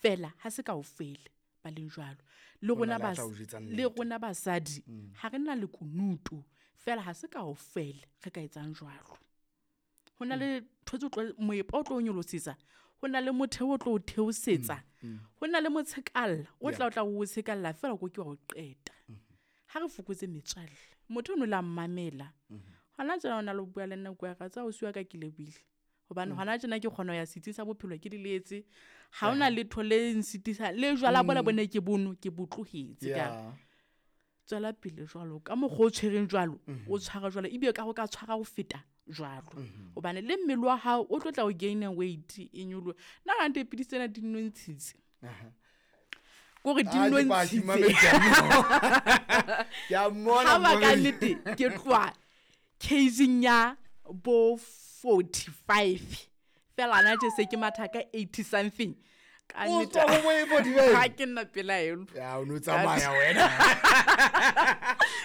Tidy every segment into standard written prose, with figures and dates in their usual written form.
Fela ha se kaofela ba leng jwalo. Le Ho na rona le a bas tla o jwetsa le nnete. rona basadi ha re na lekunutu fela ha se kaofela re ka etsang jwalo. Ho na le ntho tse tlo moepa o tlo o nyolosetsa, ho na le motheo o tlo o theosetsa, ho na le motshekalla o tla o tla o tshekalla fela o ke ke wa o qeta. Ha re fokotse metswalle, motho ono la mmamela. Hona tjena o na le ho bua le nna kwa ra tsa ausi wa ka ke lebohile. Hobane hona tjena ke kgona ho ya setsing sa bophelo ke diletse. Ha hona letho le nsitisa le jwala bona bone ke bono ke bo tlohetse ka. Tswela pele jwalo ka mokgwa o tshwereng jwalo, o tshwara jwalo ebile ka ho ka tshwara ho feta jwalo. Hobane le mmele wa hao o tlo tla o gain weight e nyoloha. Nna ha nte pidisi tsena di nnontshitse. Kore di Ah, ke paki, nnontshitse. mamedi, ke a mmona. Ke a mmona, Ha ba ka mamedi. nnete ke tloha caging ya bo 45. Fela hana tje se ke matha ka 80 something. Ka O nnete, tswa ho bo 45? Ha ke nna pelaelo. Ya, o no tsamaya wena.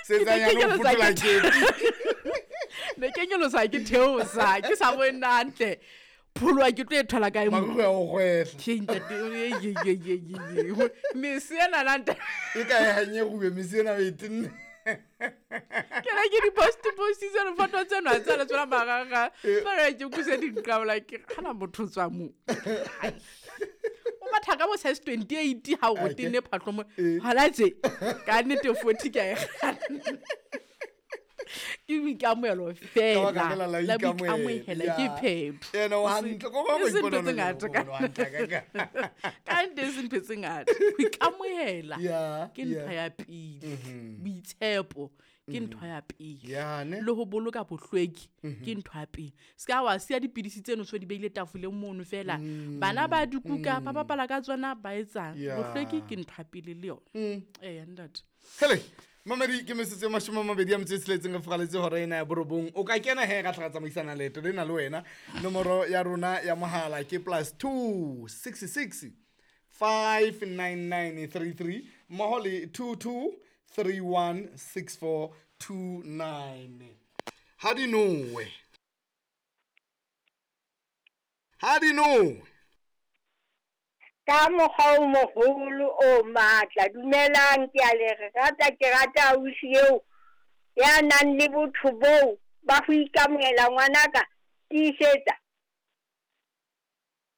Ke ne Setsanyane ke o nyolosa fothola ke kepi. Ne ke nyolosa ke theosa, ke sa bone hantle. Pholoha ke tlo e thola kae mo? Marukgwe a o kgwehla. Ke ntate, ye, ye, ye, ye, ye, ye. Mese ena na ntate. E ka e hanye rube, mese ena o e tenne. Ke ne ke di-post-postitse difoto tseno ha tsa le tsona marangrang. Fela ke utlwise di nqabola ke re, hana motho o tswa moo. Hai. O matha ka bo size 28 ha o Ake. tenne phahlo mo. Eh. Hona tje, ka nnete 40 ke a e kganna. Ke boikamohelo Ka fela. baka lela la La ikamohela. boikamohela Ya. ke phetho. Ena o hantle, ko ba E se go ntho ipona tse o le ngata mokgwa o hantle ka ka. ka nnete e se ntho tse ngata. Ho ikamohela Ya, ke ntho ya. ya pele. Boitshepo ke ntho ya pele. Ya, ne? Le ho boloka bohlweki ke ntho ya pele. Se ka wa siya dipidisi tseno so di beile tafoleng mono fela. Bana ba di kuka, ba bapala ka tsona, ba etsang. Ya. Bohlweki ke ntho ya pele le yona. Eya, ntate. Hele, mamedi ke metsotso e mashome a mabedi a metso e tsheletseng re furaletse hora ena ya borobong. O ka kena he ra tla ra tsamaisana leeto lena le wena. Nomoro ya rona ya mohala ke +2 66 59933 mmoho le 22316429. Ha di nowe. Ha di nowe. Ka mokgwa o moholo o matla. Dumelang, ke a le rata, ke rata ausi eo ya nang le botho boo ba ho ikamohela ngwanaka. Tiisetsa.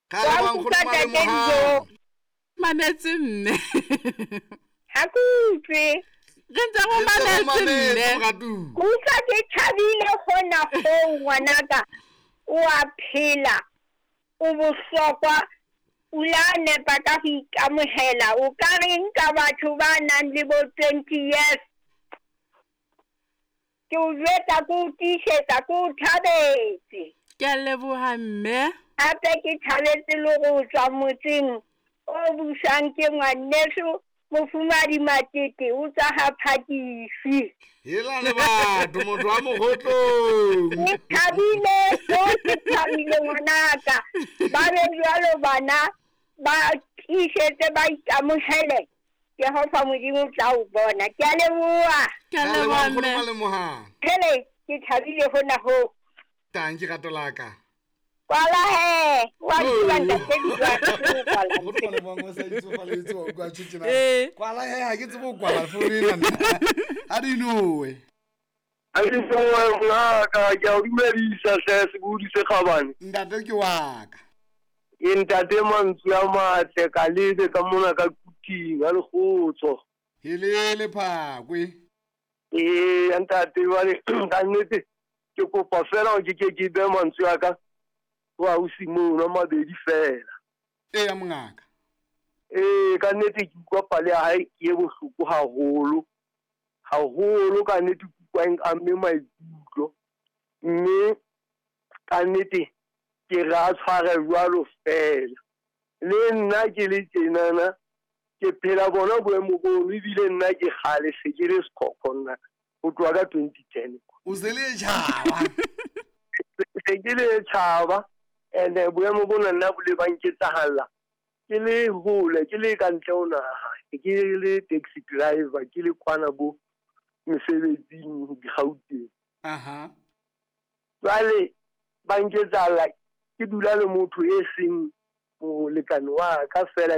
Ka Wa leboha, nkgono nkutlwa ntate Malemohang. Dijo. Mametse mme. Ha ke utlwe. Re ntse re Re ntse re mametse mametse, mme. moratuwa. Ke utlwa ke thabile hona hoo ngwanaka. O a phela. O bohlokwa. O la nepa ka ho ikamohela. O ka reng ka batho ba nang le bo 20 years? Ke o jwetsa, ke o tiisetsa, ke o thabetse. Ke a leboha mme. Hape ke thabetse le ho tswa motseng o busang ke ngwaneso Mofumadi Matete, o tswa ha Phakisi. Hela le batho, motho wa Mokgotlong. Ke thabile, o ke thabile ngwanaka. Ba be jwalo bana, ba tiisetse, ba ikamohele. Jehova Modimo o tla o bona. Ke a leboha. Ke a Ka leboha leboha, nkgono mme. Malemohang. Hele, ke thabile hona hoo. Tanki rato la ka. Kwala he, wa tseba ntate Dijo, kwala. Nkgono Malemohang o sa itsofaletse, wa utlwa tjho tjena. Eh. Kwala he, ha ke tsebe ho kwala founu ena nna. Ha di nowe. Ha di nowe, ngaka, ke a o dumedisa hle, sebohodi se kgabane. Ntate ke wa ka. Ke ntate mantswe a matle, ka lebe ka mona ka kuting, ha lekgotso. Helele phakwe. Ee, ntate, jwale, ka nnete, ke kopa fela hore ke ke ke behe mantswe a ka ho ausi mono a mabedi fela. Eya, mongaka. Ee, ka nnete ke utlwa pale ya hae ke e bohloko haholo. Haholo ka nnete ke utlwa e nkamme maikutlo. Mme ka nnete ke re a tshware jwalo fela. Le nna ke le tjenana, ke phela bona boemo bono, ebile nna ke kgale se ke le sekhokho nna ho tloha ka 2010. O se le tjhaba. Se ke le tjhaba, and boemo bona nna bo le ba nketsahalla. Ke le hole, ke le ka ntle ho naha, ke le taxi driver, ke le kwana bo mesebetsing Gauteng. Aha. Jwale ba nketsahalla ke dula le motho e seng molekane wa ka fela.